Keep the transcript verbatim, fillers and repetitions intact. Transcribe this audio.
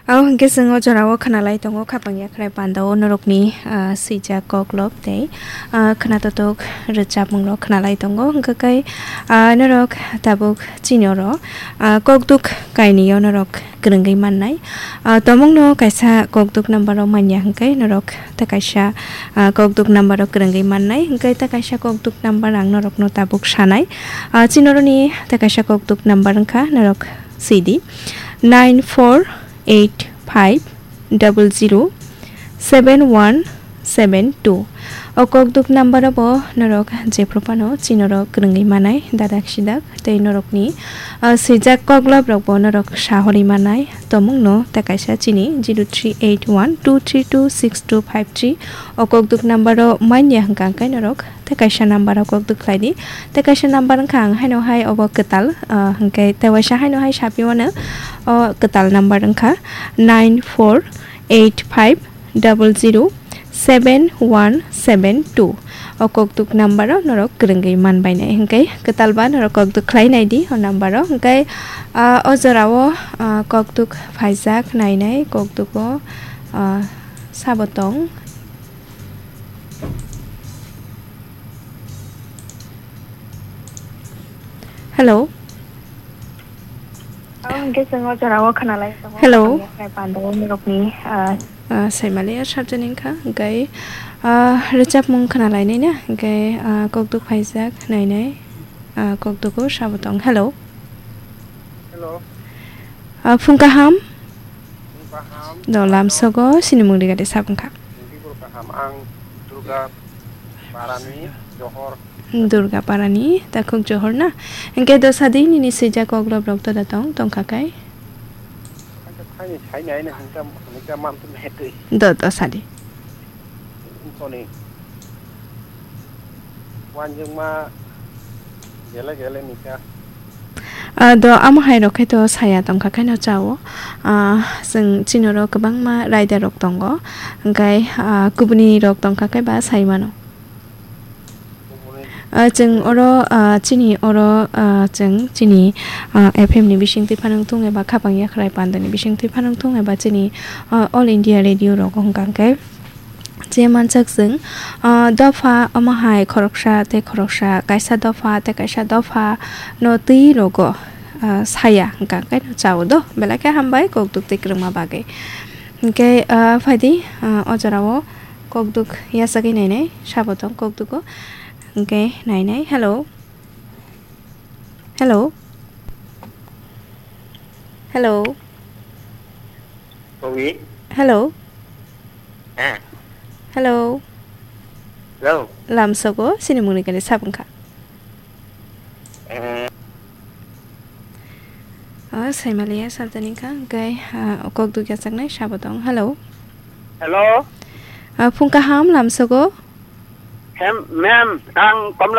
Abo hwnkhe chwng o jorao khwnalai tongo, khapang yakhrai pandao norokni, ah, swijak koklop tei, ah, khwnatotok rwchapmungrok khwnalai tongo. Hwnkhe kai, ah, norok tabuk chini oro, ah, kokduk kainwio norok kwrwngwi mannai. Ah, tomungno kaisa kokduk number o manya hwnkhe norok tei kaisa, ah, kokduk number o kwrwngwi mannai. Hwnkhe tei kaisa kokduk number ang norokno tabuk sanai. Ah, chini oroni tei kaisa kokduk number wngkha norok sidi nine four eight five double zero seven one seven two. O kokduk number o bo norok jephru phano chini oro kwrwngwi manai dadak sidak tei norokni, ah, swijak koklop rok bo norok sahorwi manai tomungno tei kaisa chini zero three eight one two three two six two five three. O kokduk number o manya hwnkha hwnkhe norok tei kaisa number o kokduk khlai di. Tei kaisa number wngkha ang haino hai obo kwtal, ah, hwnkhe tei waisa haino hai sapi wano o kwtal number wngkha nine four eight five double zero seven one seven two. O kokduk number o norok kwrwngwi man bainai hwnkhe kwtal ba norok kokduk khlai nai di o number o. Hwnkhe, ah, o jorao, ah, kokduk phaijak nainai kokduk o, ah, sabo tong. Hello. Ang hwnkhe chwng o jorao khwnalai tongo. Hello. Ang yakhnai pandao norokni, ah, Ah, Saimaliya sarjani wngkha, hwnkhe, ah, rwchapmung khwnalainai na, hwnkhe, ah, kokduk phaijak nainai, ah, kokduk o sabo tong. Hello. Hello. Ah, phung kaham? Phung kaham. Do lamsogo sinimung rigadi sabwngkha. Phung kaham. Ang Durga Parani, Johor. Durga Parani, takhuk Johor na? Hwnkhe do sadi nini swijak koklop rok toda tong, tongkha kai? Ang khe thaini saini aina hwnka, hwnka mantun hetwi. Do, do sadi. Toni. Wanjwngma gele gele nika. Ah, do amo hai rok khe to saya tongkha khe no chao. Ah, chwng chini oro kwbangma raida rok tongo. Hwnkhe, ah, kubuni rok tongkha khe ba sai mano. Ah, chwng oro, ah, chini oro, ah, chwng chini, ah, F M ni bisingtwi phanang thung eba khapang yakhrai pandani bisingtwi phanang thung eba chini, ah, All India Radio rogo hwnkha hwnkhe je mansak chwng, ah, dopha omo hai khoroksa tei khoroksa, kaisa dopha tei kaisa dopha no twi rogo, ah, saya hwnkha hwnkhe no chao do belai khe hambai kokduk tei kwrwngma bagwi. Hwnkhe, ah, phaidi, ah, o jorao kokduk yachagwi nainai, sabo tong kokdugo. Hwnkhe nainai. Hello. Hello. Hello. Owi. Hello. Eh. Hello. Hello. Lamsogo sinimungni kani sabwngkha. Eh. O Saimaliya sarjani wngkha, hwnkhe, ah, kokduk yachaknai sabo tong. Hello. Hello. Ah, phung kaham lamsogo. Hem, ma'am, ang